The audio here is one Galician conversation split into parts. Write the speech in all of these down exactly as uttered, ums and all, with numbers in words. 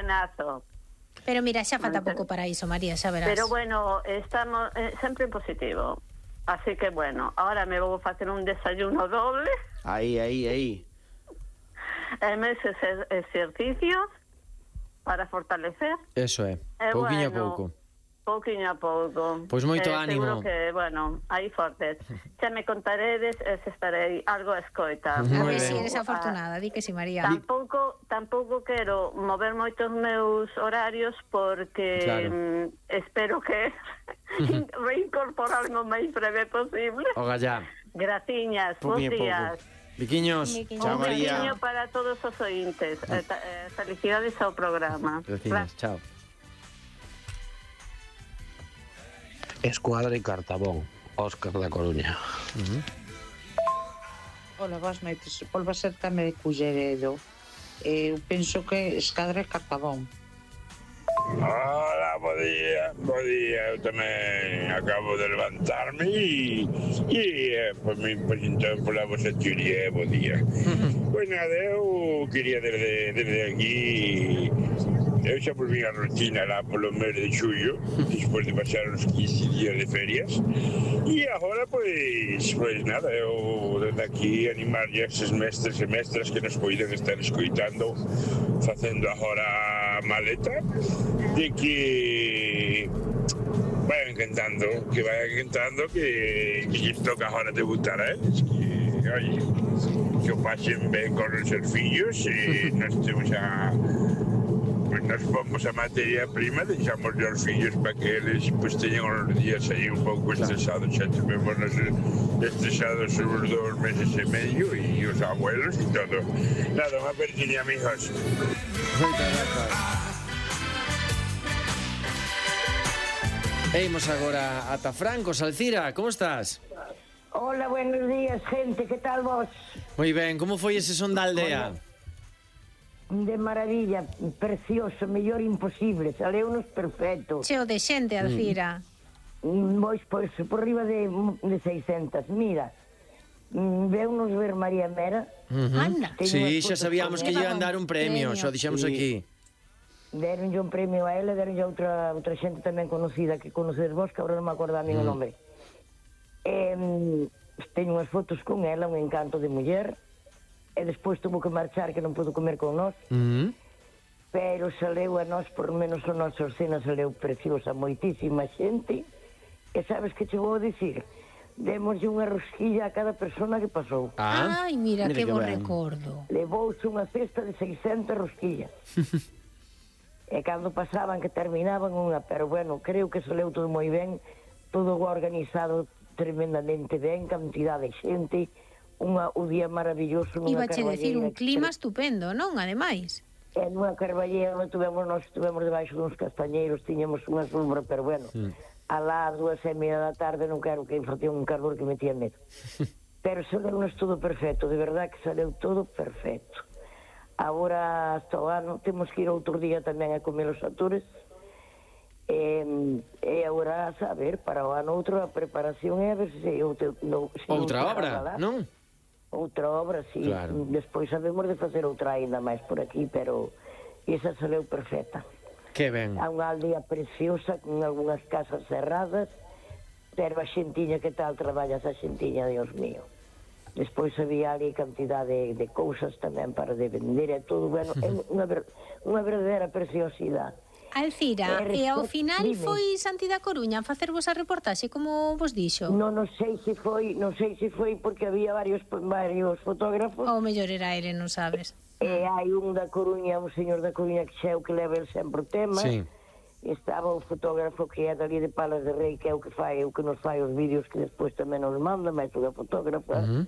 planazo. Pero mira, xa falta pouco para iso, María, xa verás. Pero bueno, estamos eh, sempre en positivo. Así que bueno, ahora me vou facer un desayuno doble. Aí, aí, aí. E meses exercicios para fortalecer. Eso é, eh, pouquiño bueno, a pouco. Pouquiño a pouco. Pois moito eh, ánimo. Seguro que, bueno, aí fortes. Xa me contaredes e se estarei algo a escoita. A ver se eres afortunada, di que si, María. Tampouco, tampouco quero mover moitos meus horarios porque claro. mm, espero que reincorporarme o máis breve posible. Oga ya. Graciñas, bons días. Viquiños, chao María. Un beiño para todos os ointes. Eh, eh, felicidades ao programa. Graciñas, chao. Escuadra e Cartabón, Óscar da Coruña. Uh-huh. Ola, boas noites. Volva a ser tamén de Culleredo. Eu penso que Escuadra e Cartabón. Hola, bo día, bo día. Eu tamén acabo de levantarme e, e eh, pues, me presentei pola vosa teoría, bo día. Pois nada, eu quería desde, desde aquí. Eu xa volví a rutina lá polo mes de xullo, despois de pasar uns quince días de ferias. E agora, pois, pois nada, eu desde aquí animar a esses mestres e mestras que nos poden estar escoitando, facendo agora a maleta, de que vayan cantando, que vayan cantando, que, que lles toca agora debutar a eles, que, oye, que o pasen ben con os seus fillos e nos temos a... Pues nos pomos a materia prima, deixamos os fillos para que eles pues, teñan os días aí un pouco estresados, xa tivemos estresados os dos meses e medio e os abuelos e todo. Nada, unha perquinha, amigos. Moitas grazas. E imos agora ata Franco. Alcira, como estás? Hola, buenos días, gente, que tal vos? Moi ben, como foi ese son da aldea? De maravilla, precioso, mellor imposible, saleunos perfecto. Cheo de xente, Alcira. Mm. Pois, pois, por riba de, de seiscentas, mira, veunos ver María Mera. Uh-huh. Anda. Sí, xa sabíamos que lle iban dar un premio, xa dixemos sí. Aquí. Deronlle un premio a ela, deronlle a outra, outra xente tamén conocida que conocedes vos, que agora non me acordo a mí mm. o nome. Eh, teño unhas fotos con ela, un encanto de muller. E despois tuvo que marchar, que non pudo comer con nós. Uh-huh. Pero saleu a nós, por menos a nosa escena saleu preciosa, moitísima xente. E sabes que chegou a dicir? Demoslle unha rosquilla a cada persona que pasou. Ah, ai, mira, mira que bo recordo. Levouse unha cesta de seiscentas rosquillas. E cando pasaban que terminaban unha, pero bueno, creo que saleu todo moi ben, todo organizado tremendamente ben, cantidad de xente. Unha, un día maravilloso nunha Iba che decir un clima que... estupendo, non? Ademais. E nunha carballeira tuvemos, nós estuvemos debaixo duns castañeiros, tiñamos unha sombra, pero bueno, sí. Alá as dúas e media da tarde non quero que facía un calor que metía medo. Pero saleu-nos todo perfecto, de verdad que saleu todo perfecto. Agora, hasta o ano, temos que ir outro día tamén a comer os atores. E, e agora, a saber, para o ano outro a preparación é a ver se... Outro, no, se outra obra, non? Outra obra, sí. Claro. Despois sabemos de facer outra ainda máis por aquí, pero esa saleu perfecta. Que ben. Há unha aldea preciosa, con algunhas casas cerradas, pero a xentiña, que tal traballas a xentiña, Dios mío. Despois había ali cantidade de, de cousas tamén para de vender e todo, bueno, é unha, ver, unha verdadeira preciosidade. Alcira, e, e ao final dime. Foi Santi da Coruña a facervos a reportaxe, como vos dixo? Non, non sei se foi, non sei se foi porque había varios varios fotógrafos. Ou mellor era ele, non sabes. E hai un da Coruña, un señor da Coruña que xa é o que leva el sempre o tema. Sí. Estaba o fotógrafo que é dali de Palas de Rei, que é o que fai, o que nos fai os vídeos que despois tamén nos manda, máis unha fotógrafa. Uh-huh.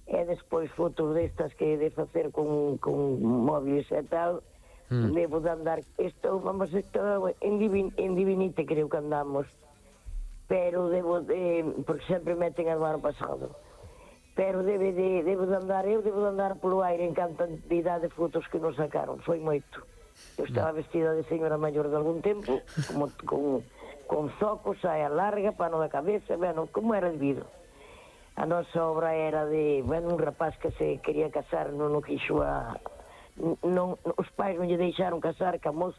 E despois fotos destas que de facer con, con móviles e tal. Mm. Debo de andar, isto, vamos, isto en, divin, en Divinite creo que andamos, pero debo de, porque sempre meten a do ano pasado, pero debe de, debo de andar, eu debo de andar polo aire en cantidade de fotos que nos sacaron, foi moito. Eu estaba vestida de señora maior de algún tempo, como, con, con zocos, saia larga, pano da cabeza, bueno, como era debido. A nosa obra era de, bueno, un rapaz que se quería casar, non o quixo a... Non, os pais non lle deixaron casar ca moza